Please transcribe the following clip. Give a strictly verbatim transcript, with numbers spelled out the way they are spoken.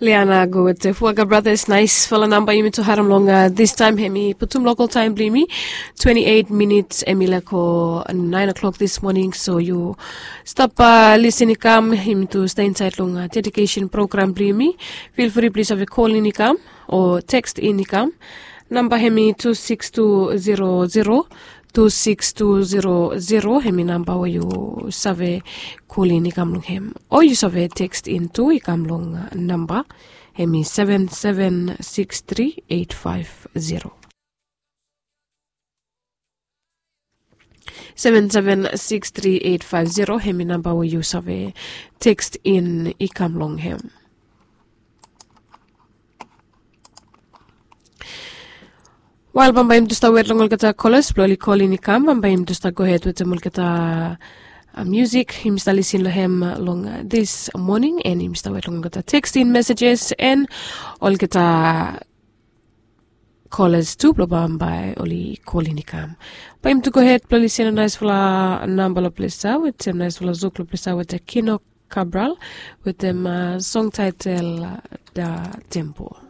Liana go wete fuaga bratas naisfala namba yumi tu harim long distaim hem i putum lokal taim blong yumi. Twenti eit minits hem i lako nain o'klok dis moning so yu stap lisin i kam yumi tu stap insaet long dedikesen program blong yumi. Fil fri plis save kolin i kam o tekst in i kam. Namba hem i tu siks tu zero zero tu siks tu zero zero hem i namba we yu save kolin i kam long hem o yu save tekst in tu i kam long namba hem i seven seven siks tri eit faiv zero. Seven seven siks tri eit faiv zero hem i namba we yu save tekst in i kam long hem. Wael bambae yumi tu stap wet long olgeta kolas blong oli kolin i kam bambae yumi tu stap gohed wetem olgeta musik yumi stap lisin long hem long dis moning en yumi stap wet long olgeta tekstin mesejes en olgeta kolas tu blong bambae oli kolin i kam. Bae yumi tu gohed blong lisin long naisfala namba long ples ya wetem naisfala zuk long ples ya wetem kino kabral wetem song taetel da tempol.